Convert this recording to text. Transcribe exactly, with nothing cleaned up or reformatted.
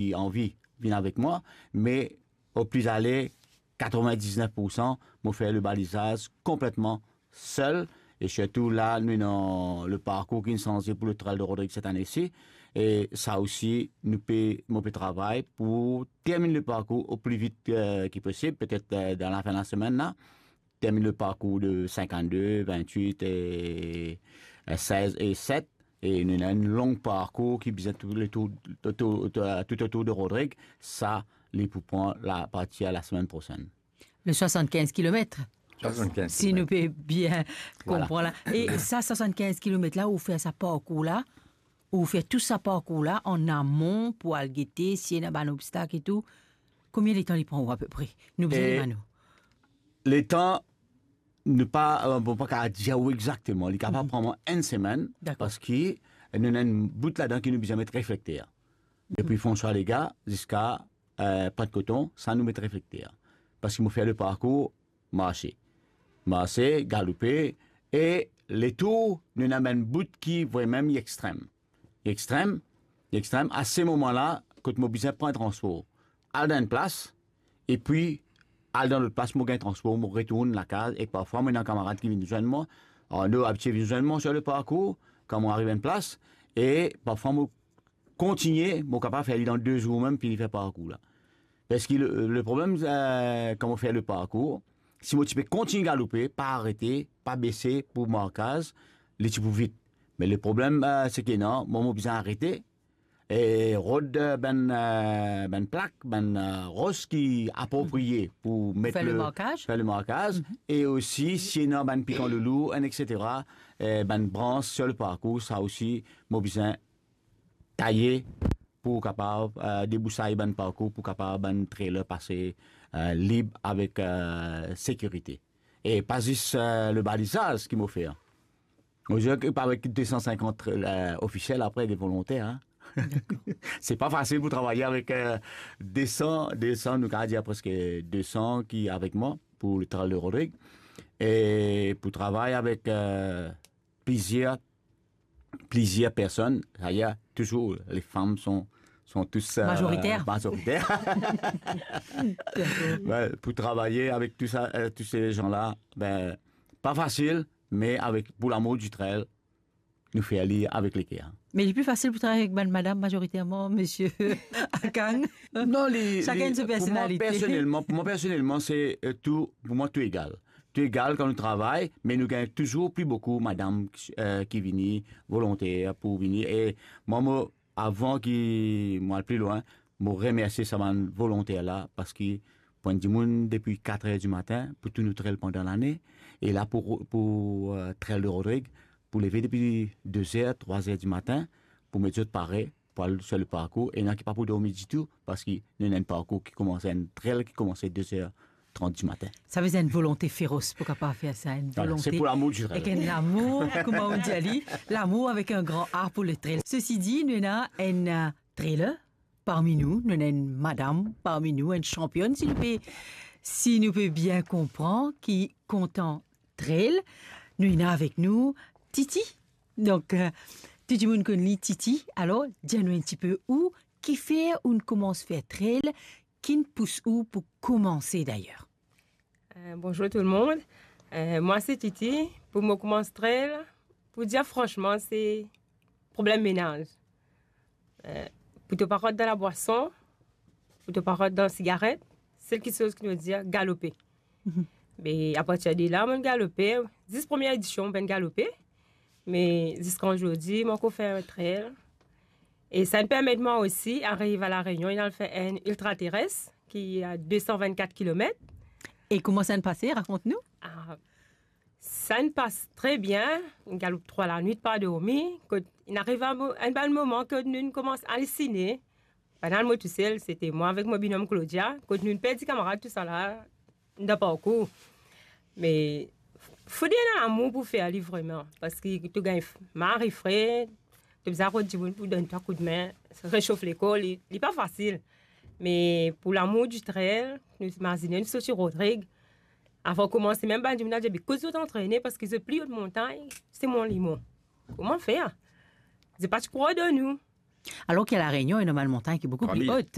ki anvi vinn avek mwa, me o pli ale, katrevin-diznef poursan, mo fer le balizaz konpletman sel, e sirtou la, nou ena le parkour ki sanze pou le Trail de Rodrigues set ane si, e sa osi, nou pe, mo pe travay pou terminn le parkour o pli vit, eh, ki posib, petet, eh, dan lafin lasemenn la, terminn le parkour de sinkannde, vintwit e, eh, sez e set, e nou ena enn long parkour ki bizin tou le tour, tou, tou, tou, tou otour de Rodrigues, sa, li pou pran la, apartir lasemenn prosenn. Le swasannkinz kilomet. Swasannkinz kilomet. Si nou pe bien konpran la. E sa swasannkinz kilomet la, ou fer sa parkour la, ou fer tou sa parkour la an amon pou al gete si ena bann obstak e tou. Konbien letan li pran ou apepre? Nou bizin demann ou. Letan, nou pa, eh, bon, pa kapav dir ou exakteman. Li kapav pran mwa enn semenn, dakor, parski nou ena enn bout ladan ki nou bizin met reflekter. Depi François Legace ziska, eh, Pointe Coton, sa nou met reflekter. Parski mo fer le parkour marse. Marse, galoupe, e letour, nou ena bann bout ki vremem li extrem. Li extrem, li extrem. A se moman la, kot mo bizin pran transpor, al dan enn plas, epi al dan lot plas, mo gagn transpor, mo retourn lakaz, e parfwa mo ena kamarad ki vinn zwenn mwa. Arno abitie vinn zwenn mwa sir le parkour, kan mo ariv enn plas, e parfwa mo kontigne, mo kapav fer li dan de zour mem, fini fer parkour la. Parski le, le problem, eh, kan mo fer le parkour, si mo ti pe kontign galoupe, pa arete, pa bese pou markaz, li ti pou vit. Me le problem, eh, seki non, mwa mo bizin arete, e rod, eh, bann, eh, bann plak, bann, eh, ros ki apropriye pou met fer le, le markaz, fer le markaz, e osi, si ena bann pikan loulou, enn, etsetera, eh, bann brans sir le parkour, sa osi, mo bizin taye pou kapav, eh, debousay bann parkour, pou kapav bann trailer pase, eh, lib avek, eh, sekirite. E pa zis, eh, le balizaz ki mo fer. Mo dir ki avek de san sinkant, eh, ofisiel, apre de volonter, hein. Dakor. Se pa fasil pou travay avek, eh, de san, de san, nou kapav dir preske de san ki avek mwa pou le Trail de Rodrigues. E pou travay avek, eh, plizier, plizier personn, d'ailleurs, toujours, les femmes sont, sont tous, euh, majoritaires. Majoritaires. Ouais, pou travay avek tou sa, eh, tous ces gens-là, ben, pa fasil, me avek, pou lamour du trail, nou fer li avek leker. Me li pli fasil pou travay avek bann madam majoriterman, misie Akang. Non, li, sakenn li, so personalite. Pou mwa personelman, pou mwa personelman, se, eh, tou, pou mwa tou egal. Tou egal kan nou travay, me nou gagn touzour pli boukou madam, eh, ki vini volonter pou vini. E mwa, mo, avan ki mo al pli lwin, mo remersie sa bann volonter la, parski pou enn dimoun depi kat er dimatin pou tou nou trail pandan lane, e la pou, pou, eh, Trail de Rodrigues, pou leve depi de er, trwa er dimatin, pou met zot pare, pou al sir le parkour, ena ki pa pou dormi ditou, parski nou ena enn parkour ki koumans, enn trail ki koumans de er trant dimatin. Sa vezin enn volonte feros pou kapav fer sa, enn volonte. Voilà, se pou lamour du trail. Ek enn lamour, kouma ou dir li, lamour avek enn gran A pou le trail. Sesi di, nou ena enn, eh, trailer parmi nou, nou ena enn madam parmi nou, enn sanpionn, si nou pe, si nou pe bien konpran, ki kontan trail. Nou ena avek nou Titi. Donk, eh, tou dimoun konn li Titi. Alor, dir nou enn tipe ou, kifer ou'nn koumans fer trail, ki'nn pous ou pou koumanse dayer? Eh, bonzour tou lemonn. Eh, mwa se Titi. Pou mo koumans trail, pou dir fransman, se problem menaz. Eh, pou to pa rant dan labwason, pou to pa rant dan sigaret, sel kiksoz ki nou dir, galoupe. Me apartir de la, mo'nn galoupe, zis premie edision, mo'nn galoupe, me ziska zordi, mo ankor fer trail. E sa'nn permet mwa osi ariv a La Réunion, e al fer enn ultra terrestre, ki a de san vennkat kilomet. E kouma sa'nn pase? Rakont nou. Ah, sa'nn pas tre bien, inn galoup trwa lanwit, pa dormi, kot inn ariv a mo-, enn bann moman kot nou'nn koumans alisine, pa nal mo tousel, sete mwa avek mo binom Claudia, kot nou'nn perdi kamarad tousala, dan parkour. Me fode ena lamour pou fer li vreman, parski to gagn f-, mari fre, to bizin rod dimoun pou donn twa koudme, resof lekor, li, li pa fasil. Me pou lamour di trail, nou imazine, nou sorti Rodrig, avan koumanse, mem bann dimoun la dir, "Be kot zot antrene, parski zot pli o montagn, se mwa limon. Kouma fer?" Zot pa ti krwar dan nou. Alors que La Réunion, il y a une montagne qui est beaucoup plus haute.